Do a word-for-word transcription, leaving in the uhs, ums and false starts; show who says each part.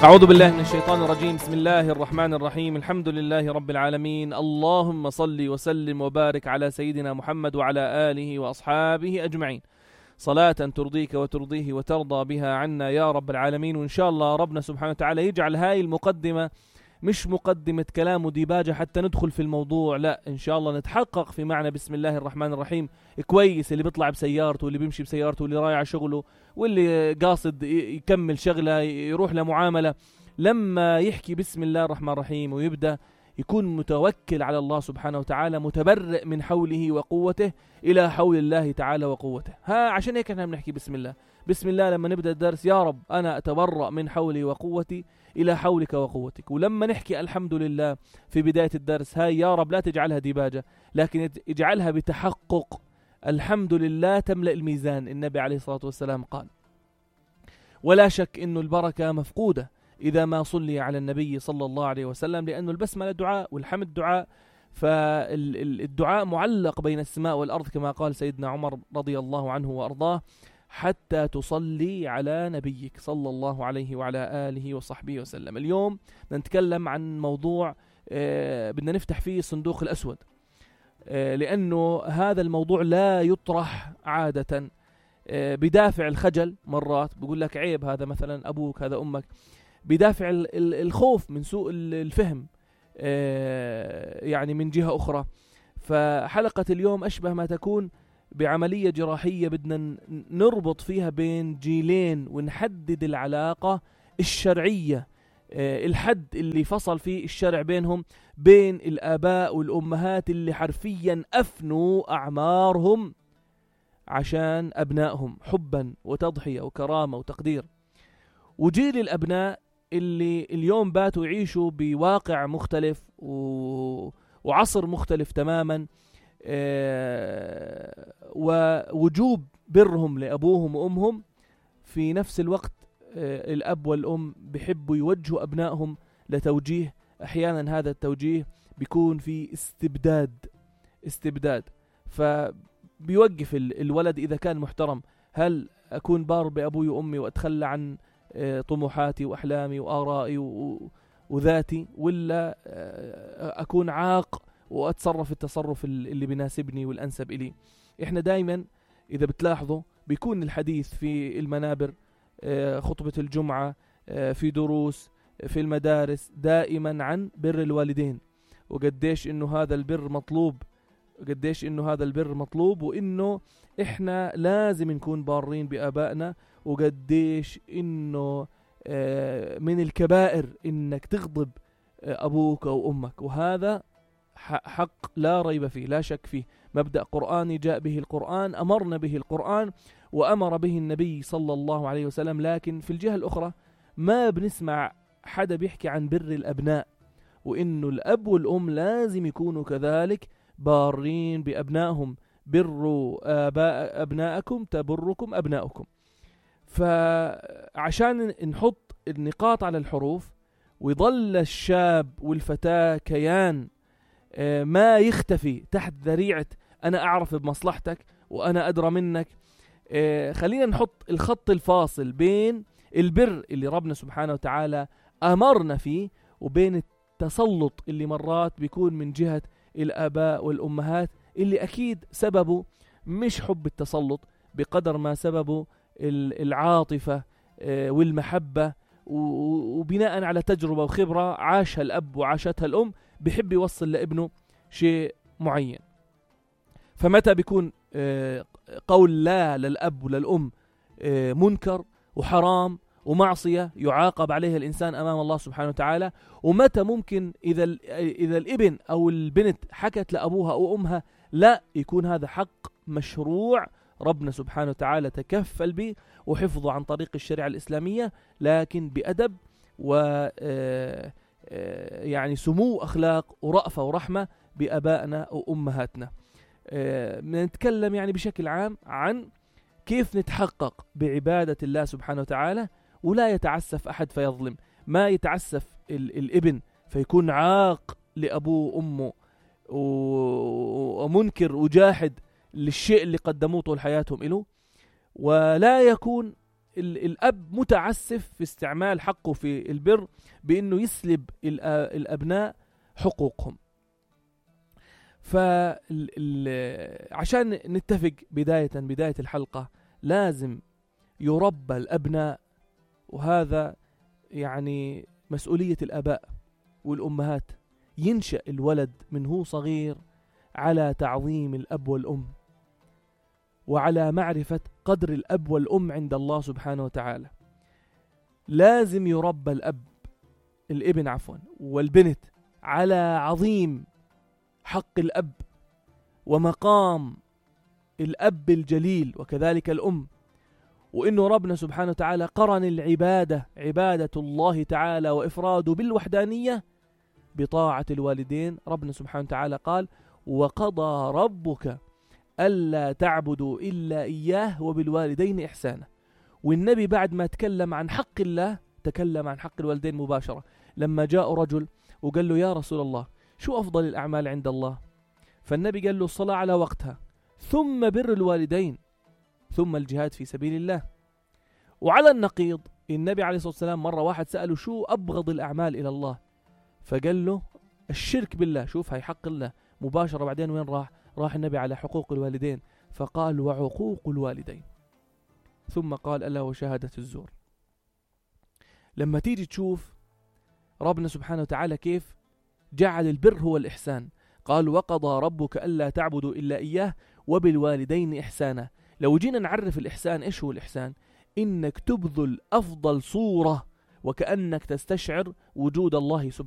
Speaker 1: أعوذ بالله من الشيطان الرجيم. بسم الله الرحمن الرحيم. الحمد لله رب العالمين. اللهم صل وسلم وبارك على سيدنا محمد وعلى آله وأصحابه أجمعين، صلاة ترضيك وترضيه وترضى بها عنا يا رب العالمين. وإن شاء الله ربنا سبحانه وتعالى يجعل هاي المقدمة مش مقدمة كلام وديباجة حتى ندخل في الموضوع، لا، إن شاء الله نتحقق في معنى بسم الله الرحمن الرحيم كويس. اللي بيطلع بسيارته واللي بيمشي بسيارته واللي رايح شغله واللي قاصد يكمل شغله يروح لمعاملة، لما يحكي بسم الله الرحمن الرحيم ويبدأ يكون متوكل على الله سبحانه وتعالى، متبرئ من حوله وقوته إلى حول الله تعالى وقوته. ها عشان هيك احنا بنحكي بسم الله. بسم الله لما نبدأ الدرس، يا رب أنا أتبرأ من حولي وقوتي إلى حولك وقوتك. ولما نحكي الحمد لله في بداية الدرس، هاي يا رب لا تجعلها ديباجة، لكن اجعلها بتحقق. الحمد لله تملأ الميزان. النبي عليه الصلاة والسلام قال: ولا شك إنه البركة مفقودة إذا ما صلي على النبي صلى الله عليه وسلم، لأنه البسملة دعاء والحمد دعاء، فالدعاء معلق بين السماء والأرض كما قال سيدنا عمر رضي الله عنه وأرضاه: حتى تصلي على نبيك صلى الله عليه وعلى آله وصحبه وسلم. اليوم نتكلم عن موضوع آه بدنا نفتح فيه الصندوق الأسود، آه لأنه هذا الموضوع لا يطرح عادة، آه بدافع الخجل. مرات بقول لك عيب، هذا مثلا أبوك، هذا أمك، بدافع الخوف من سوء الفهم، آه يعني من جهة أخرى. فحلقة اليوم أشبه ما تكون بعملية جراحية بدنا نربط فيها بين جيلين ونحدد العلاقة الشرعية، آه الحد اللي فصل فيه الشرع بينهم، بين الآباء والأمهات اللي حرفيا أفنوا أعمارهم عشان أبنائهم حبا وتضحية وكرامة وتقدير، وجيل الأبناء اللي اليوم باتوا يعيشوا بواقع مختلف و... وعصر مختلف تماما، آه ووجوب برهم لأبوهم وأمهم. في نفس الوقت آه الأب والأم بيحبوا يوجهوا أبنائهم لتوجيه، أحيانا هذا التوجيه بيكون في استبداد استبداد فبيوقف الولد إذا كان محترم: هل أكون بار بأبوي وأمي وأتخلى عن آه طموحاتي وأحلامي وآرائي و... وذاتي، ولا آه أكون عاق وأتصرف التصرف اللي بيناسبني والأنسب إلي؟ إحنا دايما إذا بتلاحظوا بيكون الحديث في المنابر، خطبة الجمعة، في دروس، في المدارس، دائما عن بر الوالدين، وقديش إنه هذا البر مطلوب، قديش إنه هذا البر مطلوب، وإنه إحنا لازم نكون بارين بآبائنا، وقديش إنه من الكبائر إنك تغضب أبوك أو أمك. وهذا حق لا ريب فيه، لا شك فيه، مبدأ قرآني جاء به القرآن، أمرنا به القرآن وأمر به النبي صلى الله عليه وسلم. لكن في الجهة الأخرى ما بنسمع حدا بيحكي عن بر الأبناء، وإنه الأب والأم لازم يكونوا كذلك بارين بأبنائهم. بروا آباء أبناءكم تبركم أبنائكم. فعشان نحط النقاط على الحروف ويظل الشاب والفتاة كيان ما يختفي تحت ذريعة أنا أعرف بمصلحتك وأنا أدرى منك، خلينا نحط الخط الفاصل بين البر اللي ربنا سبحانه وتعالى أمرنا فيه وبين التسلط اللي مرات بيكون من جهة الآباء والأمهات، اللي أكيد سببه مش حب التسلط بقدر ما سببه العاطفة والمحبة، وبناء على تجربة وخبرة عاشها الأب وعاشتها الأم، بيحب يوصل لابنه شيء معين. فمتى بيكون قول لا للأب وللأم منكر وحرام ومعصية يعاقب عليها الإنسان أمام الله سبحانه وتعالى؟ ومتى ممكن إذا إذا الابن أو البنت حكت لأبوها أو أمها لا، يكون هذا حق مشروع ربنا سبحانه وتعالى تكفل به وحفظه عن طريق الشريعة الإسلامية، لكن بأدب و يعني سمو أخلاق ورأفة ورحمة بأبائنا وأمهاتنا. نتكلم يعني بشكل عام عن كيف نتحقق بعبادة الله سبحانه وتعالى ولا يتعسف أحد فيظلم. ما يتعسف الابن فيكون عاق لأبوه وأمه ومنكر وجاحد للشيء اللي قدموه طول حياتهم إله، ولا يكون الأب متعسف في استعمال حقه في البر بأنه يسلب الأبناء حقوقهم. فعشان نتفق بداية بداية الحلقة، لازم يربى الأبناء، وهذا يعني مسؤولية الآباء والأمهات. ينشأ الولد من هو صغير على تعظيم الأب والأم، وعلى معرفة قدر الأب والأم عند الله سبحانه وتعالى. لازم يربى الأب الابن عفوا والبنت على عظيم حق الأب ومقام الأب الجليل، وكذلك الأم. وإنه ربنا سبحانه وتعالى قرن العبادة، عبادة الله تعالى وإفراده بالوحدانية، بطاعة الوالدين. ربنا سبحانه وتعالى قال: وقضى ربك ألا تعبدوا إلا إياه وبالوالدين إحسانا. والنبي بعد ما تكلم عن حق الله تكلم عن حق الوالدين مباشرة، لما جاء رجل وقال له: يا رسول الله، شو أفضل الأعمال عند الله؟ فالنبي قال له: الصلاة على وقتها، ثم بر الوالدين، ثم الجهاد في سبيل الله. وعلى النقيض، النبي عليه الصلاة والسلام مرة واحد سأله: شو أبغض الأعمال إلى الله؟ فقال له: الشرك بالله. شوف، هاي حق الله مباشرة. بعدين وين راح؟ راح النبي على حقوق الوالدين، فقال: وعقوق الوالدين، ثم قال: ألا وشهادة الزور. لما تيجي تشوف ربنا سبحانه وتعالى كيف جعل البر هو الإحسان، قال: وقضى ربك ألا تعبدوا إلا إياه وبالوالدين إحسانا. لو جينا نعرف الإحسان، إيش هو الإحسان؟ إنك تبذل أفضل صورة وكأنك تستشعر وجود الله سبحانه